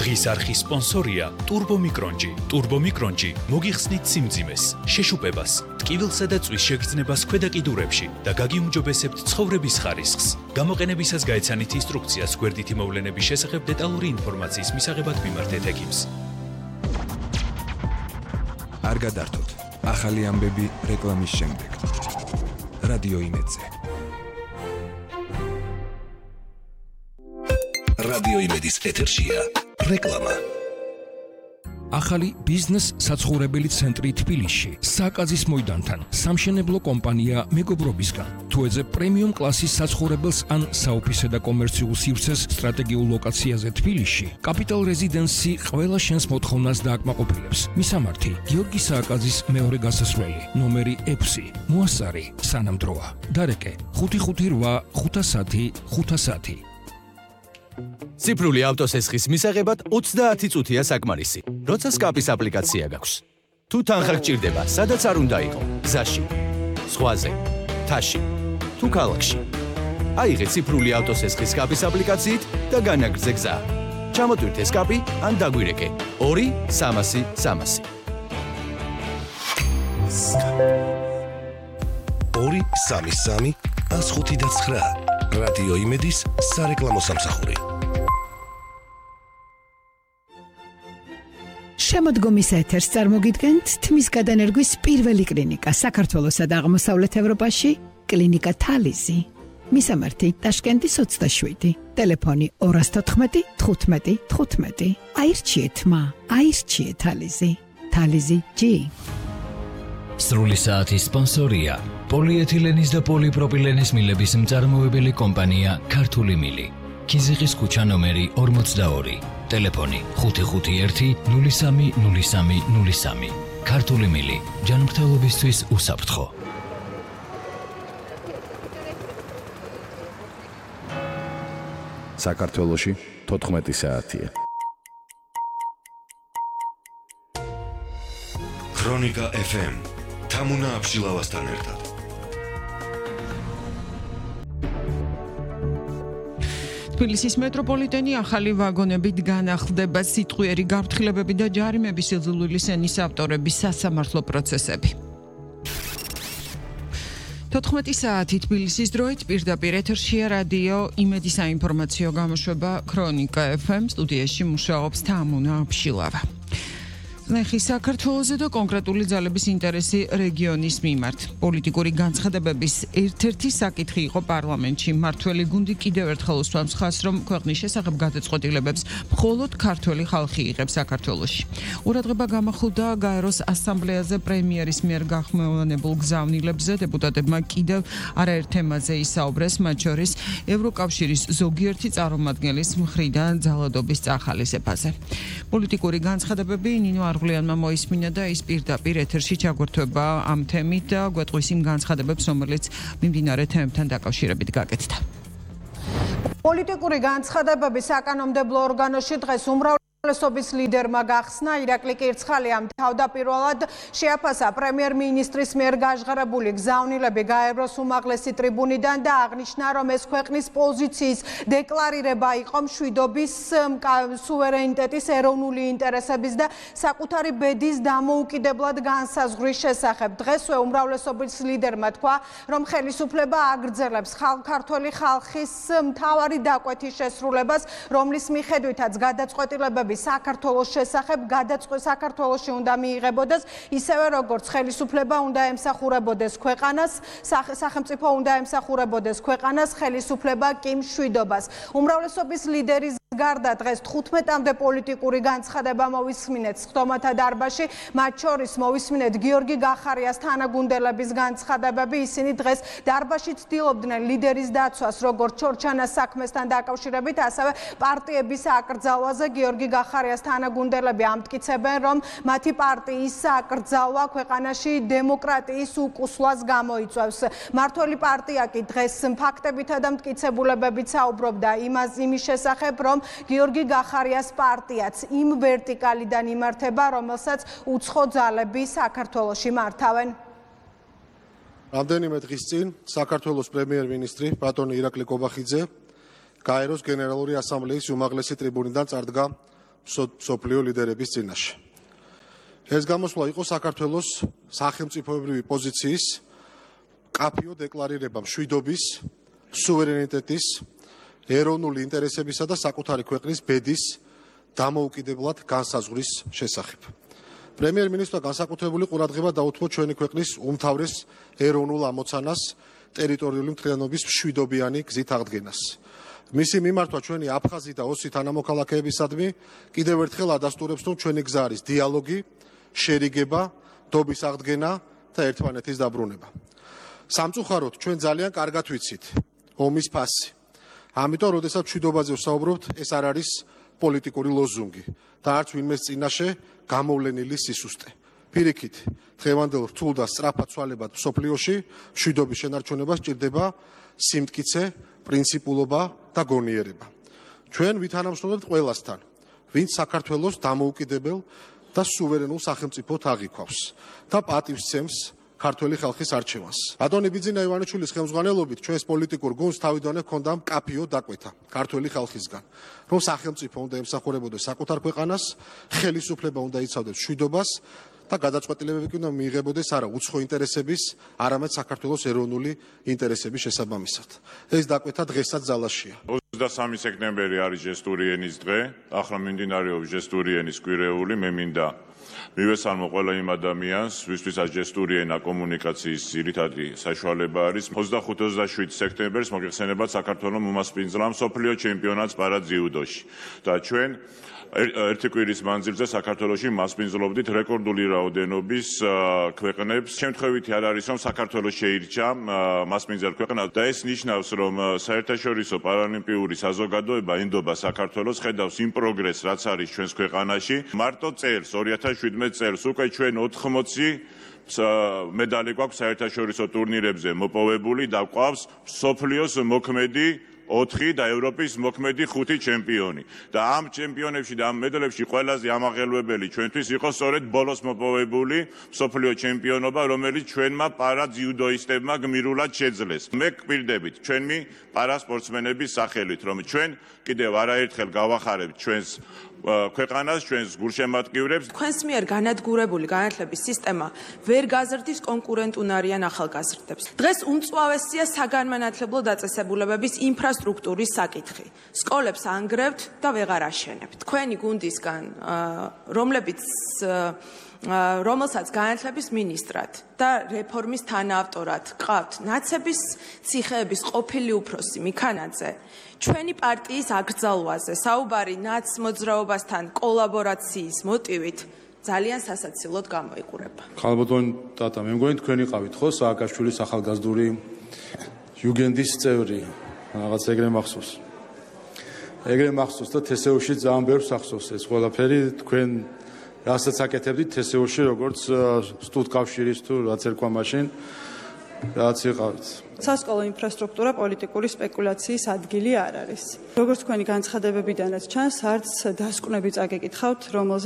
დღის არხის სპონსორია Turbo Micronji. Turbo Micronji მოგიხსნით სიმძიმეს, შეშუპებას, ტკივილსა და წვის შეგრძნებას ქვედა კიდურებში და გაგიუმჯობესებთ ცხოვრების ხარისხს. გამოყენებისას გაეცანით ინსტრუქციას გვერდითი მოვლენების შესახებ დეტალური ინფორმაციის მისაღებად მიმართეთ ექიმს. არ გადართოთ. ახალი ამბები რეკლამის შემდეგ. რადიო იმედზე. რადიო იმედის ეთერშია რეკლამა. ახალი ბიზნეს საცხოვრებელი ცენტრი თბილისში, საკაზის მოედანთან, სამშენებლო კომპანია მეგობრობისგან. თუ ეძებ პრემიუმ კლასის საცხოვრებელს ან საოფისე და კომერციულ სივრცეს სტრატეგიულ ლოკაციაზე თბილისში, კაპიტალ რეზიდენსი ყველა შენს მოთხოვნას დააკმაყოფილებს. მისამართი: გიორგი სააკაძის მეორე გასასვლელი, ნომერი 6, მოასწარი, სანამდროა. დარეკე: 558 510 510. ციფრული ავტოსესხის მისაღებად 30 წუთია საკმარისი. როცა სკაპის აპლიკაცია გაქვს. თუ თანხა გჭირდება, სადაც არ უნდა იყო, გზაში, ზღვაზე, თაში, თუ ქალაქში. აიღე ციფრული ავტოსესხის სკაპის აპლიკაციით და განაგრძე გზა. ჩამოტვირთე სკაპი ან დაგვირეკე 2-300 300. 2-3-3 105-9 რადიო იმედის სარეკლამო სამსახური. შემოდგომის ეთერს წარმოგიდგენთ თმის გადანერგვის პირველი კლინიკა საქართველოსა და აღმოსავლეთ ევროპაში, კლინიკა თალიზი. მისამართი: ტაშკენტის 27, ტელეფონი 214 15 15. აირჩიეთ მა, აირჩიეთ თალიზი. თალიზი G. სრული საათის სპონსორია პოლიეთილენის და პოლიპროპილენის მილების მწარმოებელი კომპანია ქართული მილი. ქიზიყის ქუჩა ნომერი 42, ტელეფონი 551 03 03 03. ქართული მილი, ჯანმრთელობისთვის უსაფრთხო. საქართველოში 14 საათია. ქრონიკა FM თამუნა აბშილავასთან ერთად. თბილისის მეტროპოლიტენი ახალი ვაგონებით განახლდება სიტყვიერი გაფრთხილებები და ჯარიმების სიძულვილის ენის ავტორების სასამართლო პროცესები. 14 საათი თბილისის დროით პირდაპირ ეთერშია რადიო იმედის საინფორმაციო გამოშვება ქრონიკა FM. სტუდიაში მუშაობს თამუნა აბშილავა. ნახი საქართველოზე და კონკრეტული ძალების ინტერესი რეგიონის მიმართ. პოლიტიკური განცხადებების ერთ-ერთი საკითხი იყო პარლამენტში. მმართველი გუნდი კიდევ ერთხელ უსვამს ხაზს, რომ ქვეყნის შესახებ გადაწყვეტილებებს მხოლოდ ქართველი ხალხი იღებს საქართველოში. ყურადღება გამახვილდა გაეროს ასამბლეაზე პრემიერის მიერ გახმოვანებულ გზავნილებზე. დეპუტატებმა კიდევ არაერთ თემაზე ისაუბრეს, მათ შორის ევროკავშირის ზოგიერთი წარმომადგენლის მხრიდან ძალადობის წახალისებაზე. პოლიტიკური განცხადებები ნინო არღვლიანმა მოისმინა და ის პირდაპირ ეთერში ჩაგვერთვება ამ თემით და გვეტყვის იმ განცხადებებს, რომელიც მიმდინარე თემებთან დაკავშირებით გაკეთდა. პოლიტიკური განცხადებები საკანონმდებლო ორგანოში დღეს უმრავლესობის ლიდერმა გახსნა. ირაკლი კირცხალიამ თავდაპირველად შეაფასა პრემიერ-მინისტრის მიერ გაჟღერებული გზავნილები გაეროს უმაღლესი ტრიბუნიდან და აღნიშნა, რომ ეს ქვეყნის პოზიციის დეკლარირება იყო მშვიდობის, სუვერენიტეტის, ეროვნული ინტერესების და საკუთარი ბედის დამოუკიდებლად განსაზღვრის შესახებ. დღესვე უმრავლესობის ლიდერმა თქვა, რომ ხელისუფლება აგრძელებს ქართველი ხალხის მთავარი დაკვეთის შესრულებას, რომლის მიხედვითაც გადაწყვეტილებები საქართველოს შესახებ საქართველოში უნდა მიიღებოდეს, ისევე როგორც ხელისუფლება უნდა ემსახურებოდეს ქვეყანას, სახელმწიფო უნდა ემსახურებოდეს ქვეყანას, ხელისუფლება კი მშვიდობას. უმრავლესობის ლიდერის გარდა დღეს 15-მდე პოლიტიკური განცხადება მოვისმინეთ სხდომათა დარბაზში, მათ შორის მოვისმინეთ გიორგი გახარიას თანაგუნდელების განცხადებები. ისინი დღეს დარბაზში ცდილობდნენ ლიდერის დაცვას, როგორც ჩორჩანას საქმესთან დაკავშირებით, ასევე პარტიების აკრძალვაზე. გიორგი გახარიას თანაგუნდელები ამტკიცებენ, რომ მათი პარტიის აკრძალვა ქვეყანაში დემოკრატიის უკუსლას გამოიწვევს. მართველი პარტია კი დღეს ფაქტებითა და მტკიცებულებებით საუბრობდა იმის შესახებ, რომ გიორგი გახარიას პარტიაც იმ ვერტიკალიდან იმართება, რომელსაც უცხო ძალები საქართველოში მართავენ. რამდენიმე დღის წინ საქართველოს პრემიერ-მინისტრი ბატონი ირაკლი კობახიძე გაეროს გენერალური ასამბლეის უმაღლესი ტრიბუნიდან წარდგა მსოფლიო ლიდერების წინაშე. ეს გამოსვლა იყო საქართველოს სახელმწიფოებრივი პოზიციის კაფიო დეკლარირება მშვიდობის, სუვერენიტეტის, ეროვნული ინტერესებისა და საკუთარი ქვეყნის ბედის დამოუკიდებლად განსაზღვრის შესახებ. პრემიერ-მინისტრმა განსაკუთრებული ყურადღება დაუთმო ჩვენი ქვეყნის უმთავრეს ეროვნულ ამოცანას ტერიტორიული მთლიანობის მშვიდობიანი გზით აღდგენას. მისი მიმართვა ჩვენი აფხაზი და ოსი თანამოქალაქეებისადმი კიდევ ერთხელ ადასტურებს, რომ ჩვენი გზა არის დიალოგი, შერიგება, დობის აღდგენა და ერთმანეთის დაბრუნება. სამწუხაროდ ჩვენ ძალიან კარგად ვიცით ომის ფასი. ამიტომ, როდესაც მშვიდობაზე ვსაუბრობთ, ეს არ არის პოლიტიკური ლოზუნგი და არც ვინმეს წინაშე გამოვლენილი სისუსტე. პირიქით, დღევანდელ რთულ და სწრაფად ცვალებად მსოფლიოში მშვიდობის შენარჩუნება სჭირდება სიმტკიცე, პრინციპულობა და გონიერება. ჩვენ ვითანამშრომლებთ ყველასთან, ვინც საქართველოს დამოუკიდებელ და სუვერენულ სახელმწიფოდ აღიქვავს და პატივს სცემს ქართველი ხალხის არჩევანს. ბატონი ბიძინა ივანიშვილის ხელმძღვანელობით ჩვენს პოლიტიკურ გუნდს თავიდანვე ჰქონდა მკაფიო დაკვეთა ქართველი ხალხისგან, რომ სახელმწიფო უნდა ემსახურებოდეს საკუთარ ქვეყანას, ხელისუფლება უნდა იცავდეს მშვიდობას და გადაწყვეტილებები კი უნდა მიიღებოდეს არა უცხო ინტერესების, არამედ საქართველოს ეროვნული ინტერესების შესაბამისად. ეს დაკვეთა დღესაც ძალაშია. 23 სექტემბერი არის ჟესტური ენის დღე, ახლა მიმდინარეობს ჟესტური ენის კვირეული, მე მინდა მივესალმო ყველა იმ ადამიანს, ვისთვისაც ჟესტური ენა კომუნიკაციის ძირითადი საშუალება არის. 25-27 სექტემბერს მოგეხსენებათ საქართველოს უმასპინძლა მსოფლიო ჩემპიონატს პარაძიუდოში და ჩვენ ერთი კვირის მანძილზე საქართველოში მასპინძლობდით რეკორდული რაოდენობის ქვეყნებს. შემთხვევითი არ არის, რომ საქართველოს შეირჩა მასპინძელ ქვეყნად და ეს ნიშნავს, რომ საერთაშორისო პარალიმპიური საზოგადოება ენდობა საქართველოს, ხედავს იმ პროგრესს, რაც არის ჩვენს ქვეყანაში. მარტო წელს 2017 წელს უკვე ჩვენ 80 მედალი გვაქვს საერთაშორისო ტურნირებზე მოპოვებული და გვყავს მსოფლიოს მოქმედი 4 და ევროპის მოქმედი 5 ჩემპიონი. და ამ ჩემპიონებში და ამ მედლებში ყველაზე ამაღელვებელი ჩვენთვის იყო სწორედ ბოლოს მოპოვებული მსოფლიო ჩემპიონობა, რომელიც ჩვენმა პარაძიუდოისტებმა გმირულად შეძლეს. მე გვპირდებით ჩვენი პარასპორტსმენების სახელით, რომ ჩვენ კიდევ არაერთხელ გავახარებთ ჩვენს ქვეყანას, ჩვენს გულშემატკივრებს. თქვენს მიერ განადგურებული განათლების სისტემა ვერ გაზრდის კონკურენტუნარიან ახალგაზრდებს. დღეს უმწვავესია საგანმანათლებლო დაწესებულებების ინფრასტრუქტურის საკითხი. სკოლებს ანგრევთ და ვეღარ აშენებთ. თქვენი გუნდისგან, რომელსაც განათლების მინისტრად და რეფორმის თანაავტორად ყავთ ნაცების ციხეების ყოფილი უფროსი მიქანაძე, ჩვენი პარტიის აკრძალვაზე საუბარი ნაც მოძრაობასთან კოლაბორაციის მოტივით ძალიან სასაცილოდ გამოიყურება. ხალბატონ ტატა, მე მგონი თქვენი ყავით ხო სააკაშვილის ახალგაზრდული იუგენდის წევრი, რაღაც ეგრე მახსოვს. ეგრე მახსოვს და თესეუში ძალიან ბევრს ახსოვს ეს ყველაფერი თქვენ რასაც აკეთებდით თესეუში, როგორც სტუდკავშირის თუ რაც ერქვა მაშინ, რაც იყავით. სასკოლო ინფრასტრუქტურა პოლიტიკური სპეკულაციის ადგილი არ არის. როგორც თქვენი განცხადებებიდანაც ჩანს, არც დასკვნები წაგეკითხავთ, რომელზე